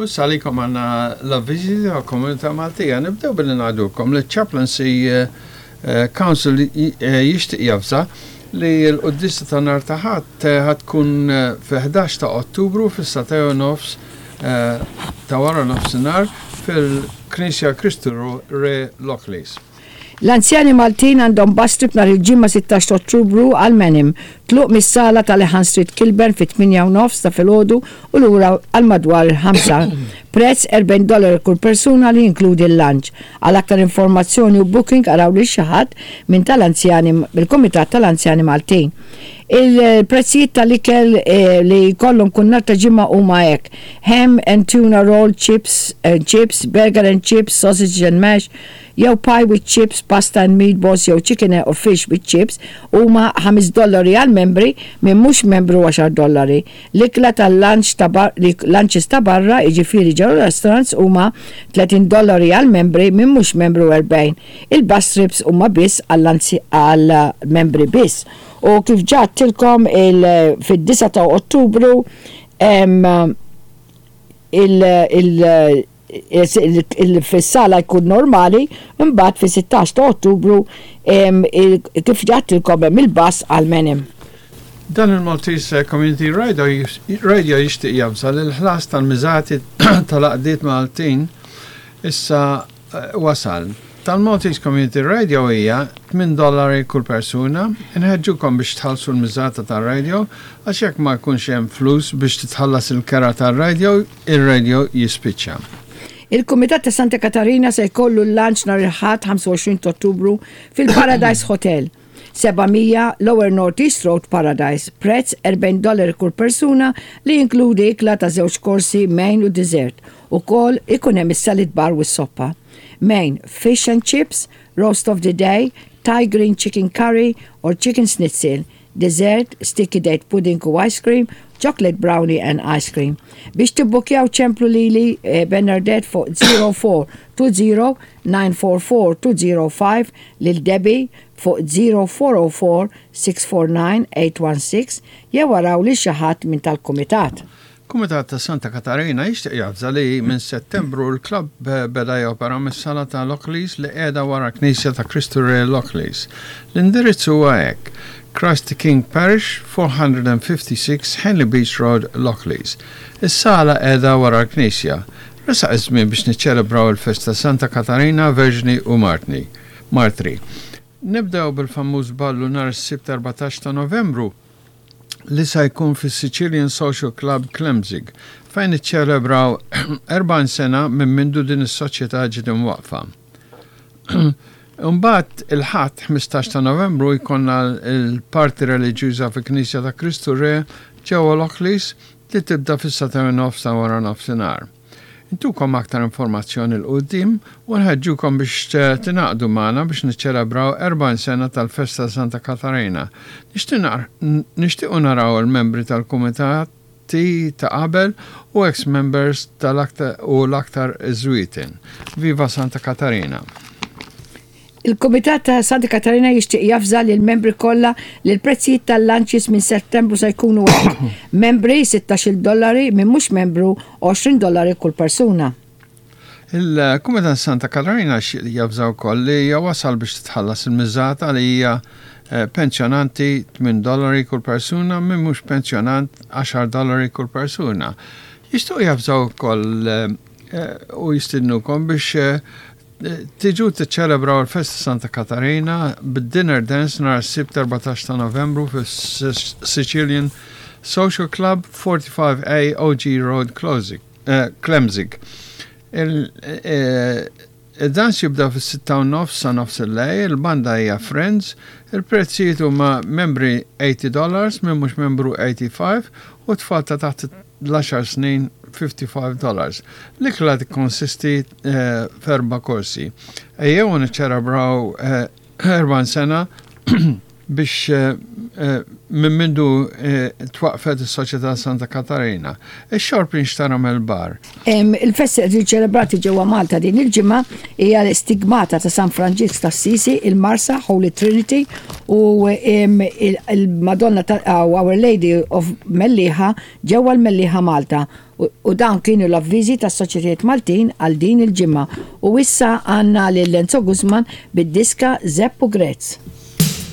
U issa għalikom għandna l-avviżi ta' Komunità Maltija. Nibdew billi ngħidulkom li Chaplaincy eh, eh, Council eh, jixtieq javża li l-quddisa ta' nhar ta' Ħadd tkun fi-11 ta' Ottubru fis-sagħtej u nofs ta' wara nofsinhar fil-Knisja Kristu Re Lockleys. L-anzjani Maltin għandhom bus trip nhar il-Ġimgħa 16 ta' Ottubru għal Menham. Tluq mis-sala ta' Lehan Street Kilburn fit-tmienja u nofs ta' filgħodu u lura għal madwar il-ħamsa. Prezz 40 dollaru kull persuna li jinkludi l-lunch. Għal aktar informazzjoni u booking araw lil xi ħadd minn tal-anzjani mill-Kumitat tal-Anzjani Maltin. Il-prezzijiet tal-ikel li jkollhom kull nhar ta' Ġimgħa huma hekk, ham and tuna roll, chips and chips, burger and chips, sausage and mash, jew pie with chips, pasta and meatballs jew chicken or fish with chips huma ħames dollari għall-membri, min mhux membru għaxar dollari. L-ikla tal-lunch ta' lunches ta' barra, jiġifieri ġewwa restaurants huma 30 dollari għall-membri, min mhux membru 40. Il-bus trips huma biss għall-membri biss. U kif ġa għedtilkom il fid-9 ta' Ottubru hemm il il fis-sala jkun normali, imbagħad fis-16 ta' Ottubru kif għedtilkom hemm il-bus għal Menem. Dan il-Maltese Community Radio jixtieq javża li l-ħlas tal-miżati tal-għaqdiet Maltin issa wasal. Tal-Maltese Community Radio hija 8 dollari kull persuna. Inħeġġukom biex tħallsu l-miżata tar-radio għax jekk ma jkunx hemm flus biex titħallas il-kera tar-radio, ir-radio jispiċċa. Il-Kumitat ta' Santa Katarina se jkollu l-lunch nhar il-Ħadd 25 ta' Ottubru fil-Paradise Hotel, 700 Lower North East Road, Paradise. Prezz 40 dollari kull persuna li jinkludi ikla ta' żewġ korsi, main u dessert. Ukoll ikun hemm is-salad bar u s-soppa. Main, fish and chips, roast of the day, Thai green chicken curry or chicken schnitzel. Dessert, sticky date pudding u ice cream, chocolate brownie and ice cream. Biex tibbukjaw ċemplu lili eh, Bernadette fuq 0420 944 205 lil Debbie fuq 0404 649 816 jew araw lil xi ħadd minn tal-kumitat. Kumitat ta' Santa Katarina jixtieq javża li minn Settembru l-klabb beda jopera mis-sala ta' Lockleys li qiegħda wara Knisja ta' Kristu Re Lockleys. L-indirizz huwa hekk, Christ the King Parish, 456 Henley Beach Road, Lockleys. Is-sala qiegħda wara l-knisja. Resaq iż-żmien biex niċċelebraw il-festa Santa Katarina, Verġni u Martni. Martri. Nibdew bil-famuż ballu nhar is-Sibt 14 ta' Novembru li sa jkun fis-Sicilian Social Club Klemzig fejn iċċelebraw 40 sena minn mindu din is-soċjetà ġiet imwaqqfa. Imbagħad il-Ħadd 15 ta' Novembru jkollna l-parti reliġjuża fil-Knisja ta' Kristu Re ġewwa Lockleys li tibda fis-sagħtejn u nofs ta' wara nofsinhar. Intukom aktar informazzjoni 'l quddiem u nħeġġukom biex tingħaqdu magħna biex niċċelebraw 40 sena tal-Festa ta' Santa Katarina. Nixtiequ naraw il-membri tal-kumitati ta' qabel u ex members tal-aktar u l-aktar iż-żwieten. Viva Santa Katarina! Il-Kumitat ta' Santa Katarina jixtieq javża lill-membri kollha li l-prezzijiet tal-lunches minn Settembru se jkunu hekk. Membri 16-il dollari, min mhux membru 20 dollari kull persuna. Il-Kumitat Santa Katarina javża wkoll li hija wasal biex titħallas il-miżata li hija eh, pensjonanti 8 dollari kull persuna, min mhux pensjonant 10 dollari kull persuna. Jixtiequ javżaw ukoll eh, u jistidnukom biex eh, Tiġu tiċċelebraw il-Festa Santa Katarina bid-Dinner Dance nhar is-Sibt 14 ta' Novembru fis-Sicilian Social Club 45A OG Road Klemzig. Il-dans jibda fis-sitta u nofs sa nofs il-lejl, il-banda hija Friends, il-prezzijiet huma membri 80 dollars, min mhux membru 85 u tfal ta' taħt l-għaxar snin 55 dollars. L-ikla tikkonsisti eh, f'erba' korsi. Ejjew niċċelebraw 40 eh, sena biex eh, Minn mindu twaqqfet is-Soċjetà Santa Katarina, ix-xorb jinxtara mill-bar. Il-festi qed jiġu ċelebrati ġewwa Malta din il-ġimgħa hija l-Istigmata ta' San Franġisk t'Assisi, il-Marsa, Holy Trinity, u il-Madonna ta' Our Lady of Mellieħa ġewwa l-Mellieħa Malta. U dawn kienu l-avviżi tas-Soċjetajiet Maltin għal din il-ġimgħa. U issa għandna lil Enzo Guzman bid-diska Zepp u Grezz.